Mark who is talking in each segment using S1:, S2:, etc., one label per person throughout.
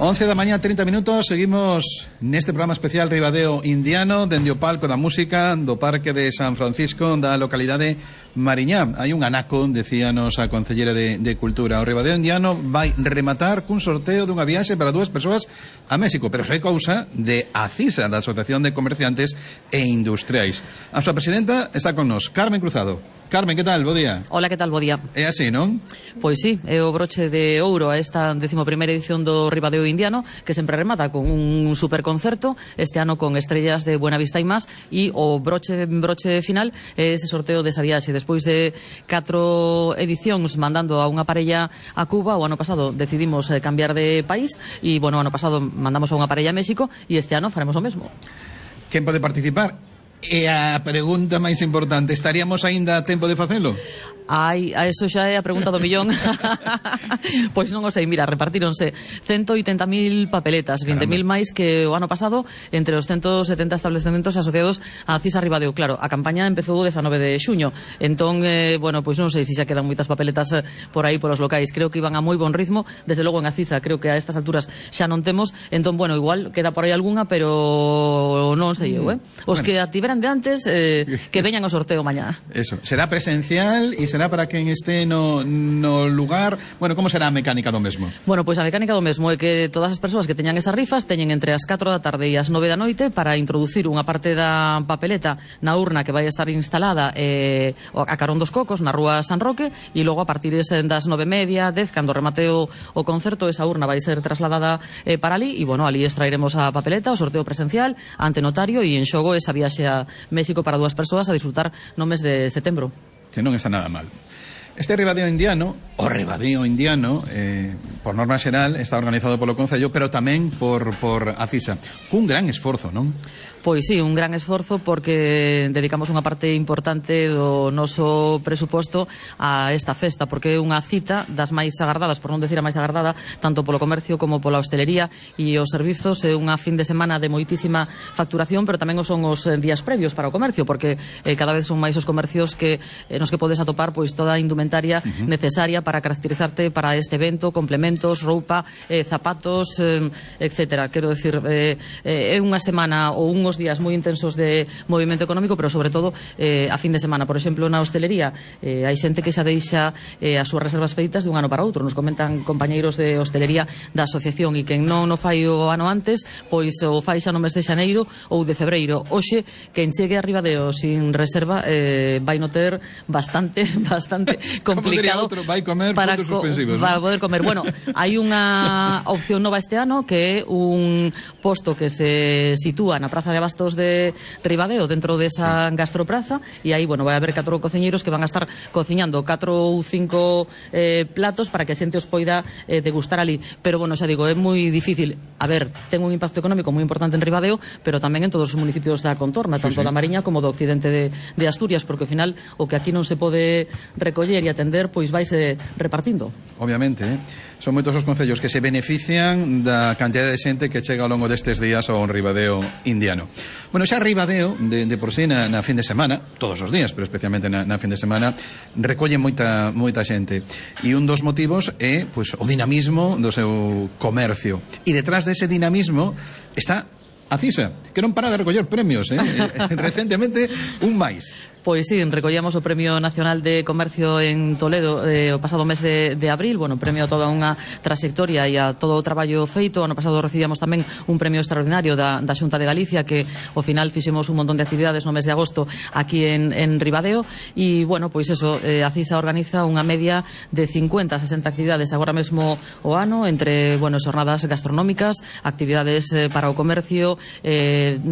S1: 11 da mañá, 30 minutos. Seguimos neste programa especial Ribadeo Indiano, dende o palco da música do Parque de San Francisco, da localidade Mariñá. Hai un anaco, decíanos a Concellera de Cultura. O Ribadeo Indiano vai rematar cun sorteo dunha viaxe para 2 persoas a México, pero xa é cousa de ACISA, da Asociación de Comerciantes e Industriais. A súa presidenta está con nos, Carmen Cruzado. Carmen, que tal? Bo día.
S2: Hola, que tal? Bo día.
S1: É así, non?
S2: Pois sí, é o broche de ouro a esta 11ª edición do Ribadeo Indiano, que sempre remata con un superconcerto, este ano con estrellas de Buenavista e más, e o broche final é ese sorteo desa viaxe. Despois de 4 edicións mandando a unha parella a Cuba, o ano pasado decidimos cambiar de país, e, bueno, o ano pasado mandamos a unha parella a México, e este ano faremos o mesmo.
S1: Quen pode participar? E a pregunta máis importante, estaríamos aínda a tempo de facelo?
S2: Ai, a eso xa é a pregunta do millón. Pois non o sei, mira, repartíronse 180.000 papeletas, 20.000 máis que o ano pasado entre os 170 estabelecementos asociados a CISA Ribadeo. Claro, a campaña empezou o 19 de xuño, entón, bueno, pois non sei se xa quedan moitas papeletas por aí polos locais. Creo que iban a moi bon ritmo, desde logo en a CISA creo que a estas alturas xa non temos, entón, bueno, igual queda por aí algunha, pero non sei eu, Os
S1: bueno,
S2: que a tiveran de antes, que veñan ao sorteo mañá.
S1: Eso, será presencial e será para quen este no lugar. Bueno, como será a mecánica do mesmo?
S2: Bueno, pois a mecánica do mesmo é que todas as persoas que teñan esas rifas teñen entre as 4 da tarde e as 9 da noite para introducir unha parte da papeleta na urna que vai estar instalada a carón dos Cocos, na rúa San Roque, e logo a partir das 9:30, 10, cando remate o concerto, esa urna vai ser trasladada para ali, e, bueno, ali extraeremos a papeleta, o sorteo presencial ante notario, e en xogo esa viaxe a México para 2 persoas a disfrutar no mes de setembro.
S1: Que non está nada mal. Este Ribadeo Indiano, o Ribadeo Indiano, por norma xeral, está organizado polo Concello, pero tamén por ACISA, cun gran esforzo, non?
S2: Pois sí, un gran esforzo, porque dedicamos unha parte importante do noso presuposto a esta festa, porque é unha cita das máis agardadas, por non decir a máis agardada, tanto polo comercio como pola hostelería e os servizos. É unha fin de semana de moitísima facturación, pero tamén son os días previos para o comercio, porque cada vez son máis os comercios que nos que podes atopar pois toda a indumentaria necesaria para caracterizarte para este evento, complementos, roupa, zapatos, etcétera. Quero decir, é unha semana ou unhos días moi intensos de movimento económico, pero sobre todo a fin de semana. Por exemplo, na hostelería hai xente que xa deixa as súas reservas feitas dun ano para outro. Nos comentan compañeiros de hostelería da asociación, e quen non o fai o ano antes, pois o fai xa no mes de xaneiro ou de febreiro. Hoxe, quen chegue a Ribadeo sin reserva vai no ter bastante complicado
S1: vai comer
S2: para
S1: puntos suspensivos,
S2: para poder comer. Bueno, hai unha opción nova este ano, que é un posto que se sitúa na Praza de Abastos de Ribadeo, dentro desa gastropraza, e aí, bueno, vai haber 4 cociñeiros que van a estar cociñando 4 ou 5 platos para que a xente os poida degustar ali. Pero, bueno, xa digo, é moi difícil. A ver, ten un impacto económico moi importante en Ribadeo, pero tamén en todos os municipios da contorna, tanto da Mariña como do occidente de Asturias, porque ao final o que aquí non se pode recoller e atender, pois vaise repartindo.
S1: Obviamente, son moitos os concellos que se benefician da cantidad de xente que chega ao longo destes días ao Ribadeo Indiano. Bueno, xa Ribadeo, de por sí, na fin de semana, todos os días, pero especialmente na fin de semana, recolle moita xente. E un dos motivos é, pois, o dinamismo do seu comercio. E detrás dese dinamismo está a CISA, que non para de recoller premios, recentemente un máis.
S2: Pois sí, recollamos o Premio Nacional de Comercio en Toledo o pasado mes de abril, bueno, premio a toda unha trayectoria e a todo o traballo feito. Ano pasado recibíamos tamén un premio extraordinario da Xunta de Galicia, que ao final fixemos un montón de actividades no mes de agosto aquí en Ribadeo, e, bueno, pois eso, a CISA organiza unha media de 50 a 60 actividades agora mesmo o ano, entre, bueno, xornadas gastronómicas, actividades para o comercio,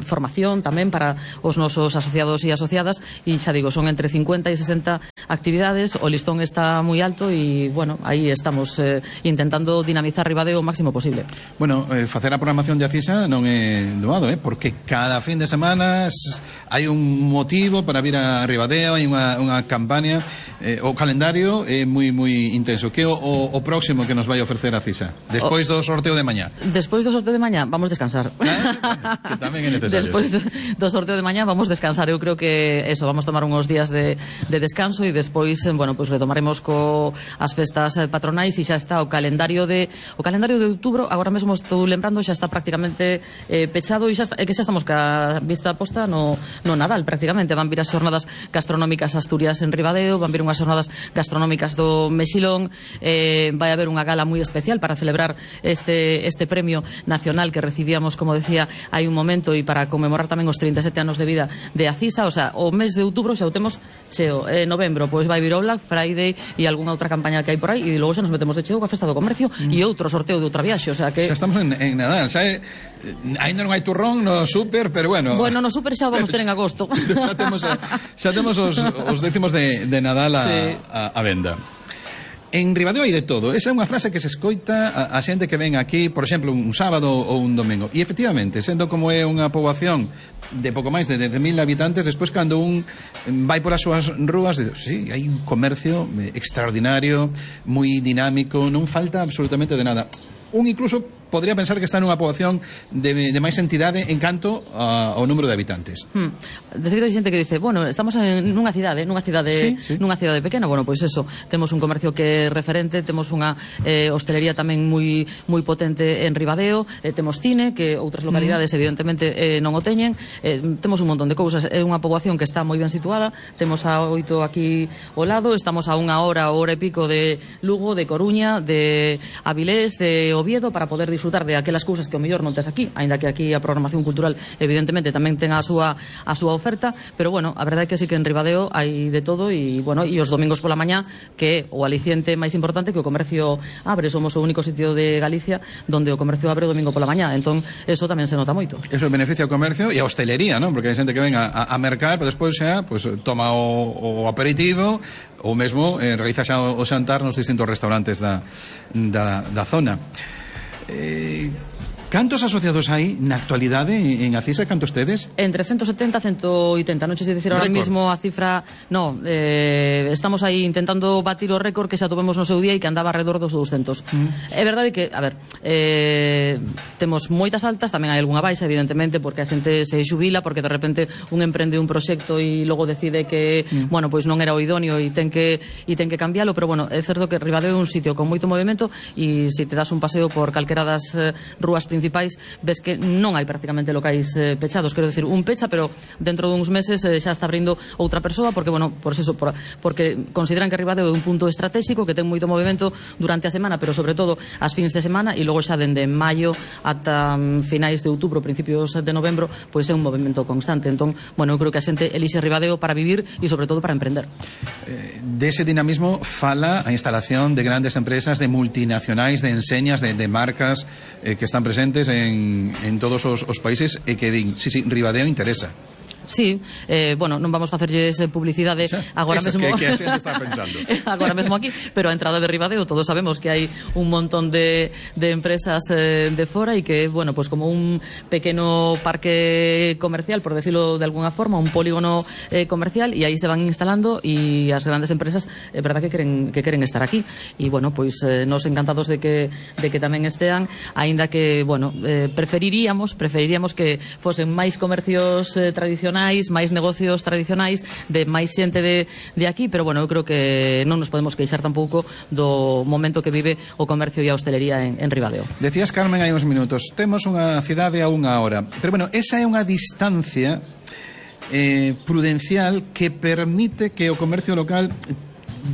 S2: formación tamén para os nosos asociados e asociadas, e xa digo, son entre 50 e 60 actividades. O listón está moi alto e, bueno, aí estamos intentando dinamizar Ribadeo o máximo posible.
S1: Bueno, facer a programación de ACISA non é doado, porque cada fin de semana hai un motivo para vir a Ribadeo, hai unha campaña, o calendario é moi intenso. Que é o próximo que nos vai ofrecer a CISA? Despois do sorteo de mañá.
S2: Despois do sorteo de mañá vamos descansar.
S1: Que tamén é necesario.
S2: Despois do sorteo de mañá vamos descansar. Eu creo que eso, vamos tomar unos días de descanso e despois, bueno, pois retomaremos as festas patronais e xa está o calendario de outubro. Agora mesmo estou lembrando, xa está prácticamente pechado e xa estamos ca vista posta no Nadal prácticamente. Van vir as xornadas gastronómicas Asturias en Ribadeo, van vir unhas xornadas gastronómicas do Mexilón, vai haber unha gala moi especial para celebrar este premio nacional que recibíamos, como decía, hai un momento, e para conmemorar tamén os 37 anos de vida de Acisa. O sea, o mes de outubro xa o temos cheo. Novembro, pois vai vir o Black Friday e algunha outra campaña que hai por aí, e logo xa nos metemos de cheo coa festa do comercio e outro sorteo de outra viaxe. O sea que
S1: xa estamos en Nadal, xa ainda non hai turrón no súper, pero bueno,
S2: no súper xa vamos ter en agosto.
S1: xa temos os décimos de Nadal a venda. En Ribadeo hai de todo. Esa é unha frase que se escoita a xente que ven aquí, por exemplo, un sábado ou un domingo. E efectivamente, sendo como é unha poboación de pouco máis de 10.000 habitantes, despois cando un vai por as súas rúas, sí, hai un comercio extraordinario, moi dinámico, non falta absolutamente de nada. Un incluso podría pensar que está nunha poboación de máis entidade en canto ao número de habitantes.
S2: De feito, hai xente que dice, bueno, estamos nunha cidade pequena. Bueno, pois eso, temos un comercio que é referente, temos unha hostelería tamén moi potente en Ribadeo, temos cine, que outras localidades evidentemente non o teñen, temos un montón de cousas. É unha poboación que está moi ben situada, temos a 8 aquí ao lado, estamos a unha hora e pico de Lugo, de Coruña, de Avilés, de Oviedo, para poder disfrutar de aquelas cousas que o mellor non tes aquí, aínda que aquí a programación cultural evidentemente tamén ten a súa oferta, pero bueno, a verdade é que sí que en Ribadeo hai de todo, e bueno, e os domingos pola mañá, que é o aliciente máis importante, que o comercio abre. Somos o único sitio de Galicia donde o comercio abre o domingo pola mañá, entón eso tamén se nota moito.
S1: Eso beneficia o comercio e a hostelería, non? Porque hai xente que ven a mercar, pero despois xa pues, toma o aperitivo ou mesmo realiza xa o xantar nos distintos restaurantes da zona. Cantos asociados hai na actualidade en Acisa? Cantos tedes? Entre 170 e 180. Non sei dicir ahora mismo a cifra. No, estamos aí intentando batir o récord que xa tuvemos no seu día e que andaba alrededor dos 200. É verdade que, a ver, temos moitas altas, tamén hai algunha baixa, evidentemente, porque a xente se xubila, porque de repente un emprende un proxecto e logo decide que, bueno, pois non era o idóneo e ten que cambialo, pero bueno, é certo que Ribadeo é un sitio con moito movimento, e se te das un paseo por calquera das rúas principais, ves que non hai prácticamente locais pechados. Quero decir, un pecha, pero dentro duns meses xa está abrindo outra persoa, porque, bueno, porque consideran que Ribadeo é un punto estratégico que ten moito movimento durante a semana, pero sobre todo as fins de semana, e logo xa dende maio ata finais de outubro, principios de novembro, pois é un movimento constante. Entón, bueno, eu creo que a xente elixe Ribadeo para vivir e sobre todo para emprender. Dese dinamismo fala a instalación de grandes empresas, de multinacionais, de enseñas, de marcas que están presentes en todos os países e que din, sí, Ribadeo interesa. Sí, bueno, non vamos facerlles publicidade agora mesmo que a xente está pensando agora mesmo aquí, pero a entrada de Ribadeo todos sabemos que hai un montón de empresas de fora, e que, bueno, pues como un pequeno parque comercial, por decirlo de alguna forma, un polígono comercial, e aí se van instalando, e as grandes empresas é verdad que queren estar aquí, e bueno, pois nos encantados de que tamén estean, aínda que, bueno, preferiríamos que fosen máis comercios tradicionais, máis negocios tradicionais, de máis xente de aquí, pero bueno, eu creo que non nos podemos queixar tampouco do momento que vive o comercio e a hostelería en Ribadeo. Decías, Carmen, hai uns minutos, temos unha cidade a unha hora, pero bueno, esa é unha distancia prudencial que permite que o comercio local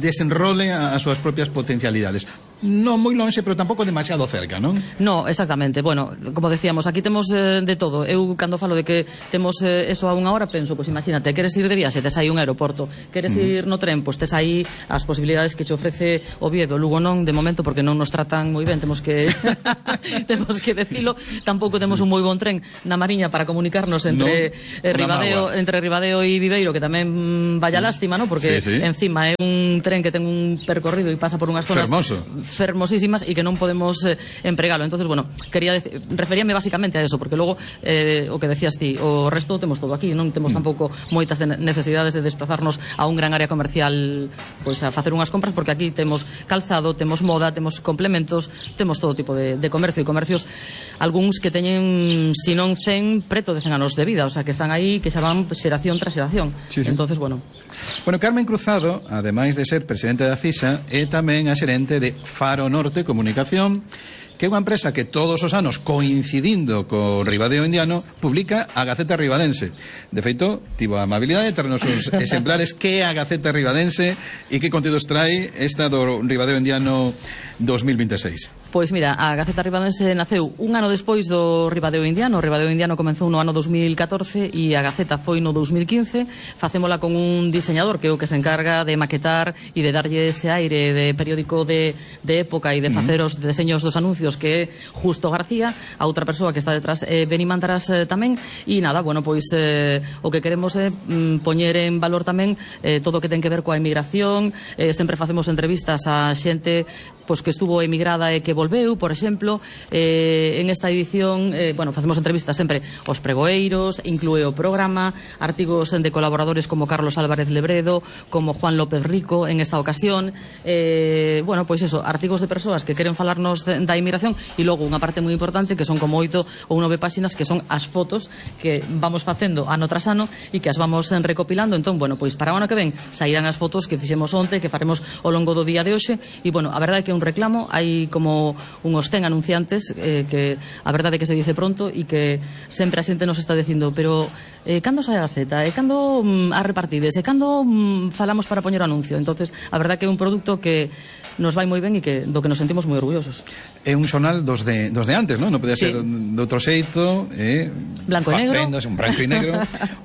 S1: desenrole as súas propias potencialidades. Non moi lonxe, pero tampouco demasiado cerca, non? No, exactamente. Bueno, como decíamos, aquí temos de todo. Eu, cando falo de que temos eso a unha hora, penso, pois imagínate, queres ir de viaxe, tes aí un aeroporto. Queres ir no tren, pois tes aí as posibilidades que che ofrece Oviedo. Lugo non, de momento, porque non nos tratan moi ben, temos que decilo. Tampouco temos un moi bon tren na Mariña para comunicarnos entre Ribadeo e Viveiro, que tamén vaya lástima, non? Porque encima é un tren que ten un percorrido e pasa por unhas zonas
S2: fermosísimas e que non podemos empregalo. Entonces, bueno, referíame basicamente a eso, porque logo o que decías ti, o resto temos todo aquí, non temos tampouco moitas necesidades de desplazarnos a un gran área comercial pois a facer unhas compras, porque aquí temos calzado, temos moda, temos complementos, temos todo tipo de comercio, e comercios algúns que teñen, si non 100, preto de 100 anos de vida, o sea, que están aí, que xa van xeración tras xeración.
S1: Sí, sí.
S2: Entonces, bueno,
S1: Carmen Cruzado, ademais de ser presidente da CISA, é tamén a xerente de Faro Norte Comunicación, que é unha empresa que todos os anos, coincidindo co Ribadeo Indiano, publica a Gaceta Ribadense. De feito, tivo a amabilidade de ternos os exemplares que é a Gaceta Ribadense e que contidos trae esta do Ribadeo Indiano 2026.
S2: Pois mira, a Gaceta Ribadense naceu un ano despois do Ribadeo Indiano. O Ribadeo Indiano comenzou no ano 2014 e a Gaceta foi no 2015. Facémola con un diseñador que é o que se encarga de maquetar e de darlle ese aire de periódico de época e de facer os deseños dos anuncios, que é Justo García. A outra persoa que está detrás é Beni Mantaras tamén. E nada, bueno, pois o que queremos é poñer en valor tamén todo o que ten que ver coa emigración. Sempre facemos entrevistas a xente pois que estuvo emigrada e que volveu, por exemplo. En esta edición, bueno, facemos entrevistas sempre aos pregoeiros, inclúe o programa, artigos de colaboradores como Carlos Álvarez Lebredo, como Juan López Rico en esta ocasión. Bueno, pois eso, artigos de persoas que queren falarnos da inmigración, e logo unha parte moi importante que son como 8 ou 9 páxinas, que son as fotos que vamos facendo ano tras ano e que as vamos recopilando. Entón, bueno, pois para o ano que ven sairán as fotos que fixemos onte, que faremos ao longo do día de hoxe. E bueno, a verdade é que é un reclamo, hai como unhos 100 anunciantes que a verdade é que se dice pronto e que sempre a xente nos está dicindo, pero cando sai a Gaceta, cando a repartides, cando falamos para poñer o anuncio. Entonces, a verdade é que é un produto que nos vai moi ben e que do que nos sentimos moi orgullosos.
S1: É un xornal dos de antes, non? Non podía ser de outro xeito,
S2: blanco e negro.
S1: Un branco e negro.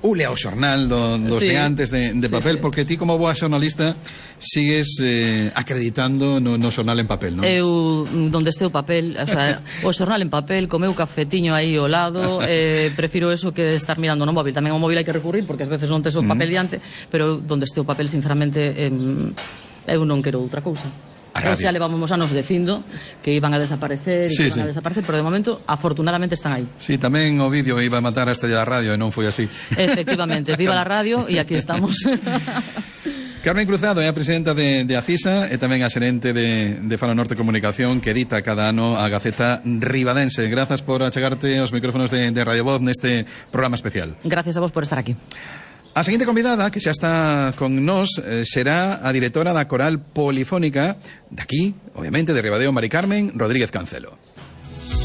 S1: Ule ao xornal dos de antes de papel, porque ti como boa xornalista sigues acreditando no xornal en papel, non?
S2: Eu, donde este o papel, o sea, o xornal en papel, comeu cafetiño aí ao lado, prefiro eso que estar mirando no móvil. Tamén ao móvil hai que recurrir, porque ás veces non tes o papel diante, pero donde este o papel, sinceramente, eu non quero outra cousa. Xa levamos anos dicindo que iban a desaparecer, pero de momento afortunadamente están aí.
S1: Sí, tamén o vídeo iba a matar a estrella da radio e non foi así.
S2: Efectivamente, viva la radio e aquí estamos.
S1: Carmen Cruzado é a presidenta de Acisa e tamén a xerente de Faro Norte Comunicación, que edita cada ano a Gaceta Ribadense. Grazas por achegarte aos micrófonos de Radio Voz neste programa especial.
S2: Gracias a vos por estar aquí.
S1: A seguinte convidada, que xa está con nós, será a directora da Coral Polifónica de aquí, obviamente, de Ribadeo, Mari Carmen Rodríguez Cancelo.